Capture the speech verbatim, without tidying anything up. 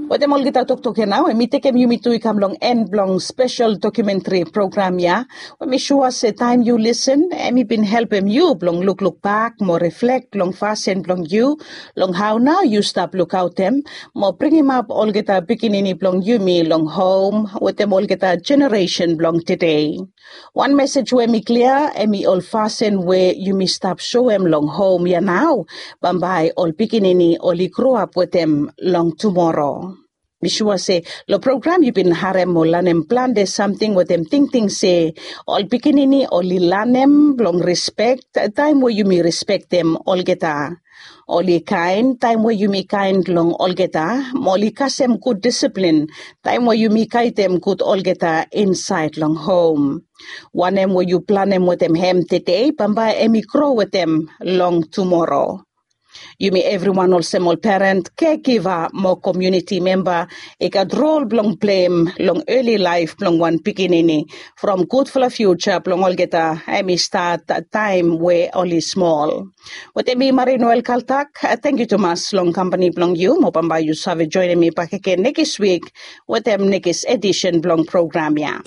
Wetem olgeta toktok ya nao, em i tekem yumi tu i kam long en blong spesel dokumentri program ya. We mi sua se taem yu lisen, em i bin helpem yu blong lukluk bak mo reflek long fasin blong yu, long hao nao yu stap lukaotem mo bringimap olgeta pikinini blong yumi long hom wetem olgeta jeneresen blong tede. Wan mesej we mi klia, em i ol fasin we yumi stap soem long hom ya nao, bambae ol pikinini oli groap wetem long tumoro. Mi sua se long program yu bin harem mo lanem plante samting wetem tingting se ol pikinini oli lanem blong rispek taem we yumi rispektem olgeta. Oli kaen taem we yumi kaen long olgeta, mo oli kasem gud disiplin taem we yumi gaedem gud olgeta insaed long hom. Wanem we yu planem wetem hem tede, bambae em i gro wetem long tumoro. Yumi evriwan olsem ol peren, kegiva mo komuniti memba i gat rol blong pleim long eli laef blong wan pikinini, from gudfala fiuja blong olgeta em i stat taem we oli smol. Wetem mi Marie Noel Kaltak, tangkiu tumas long kampani blong yu, mo bambae yu save joenem mi bakegen nekis wik wetem nekis edisen blong program ya.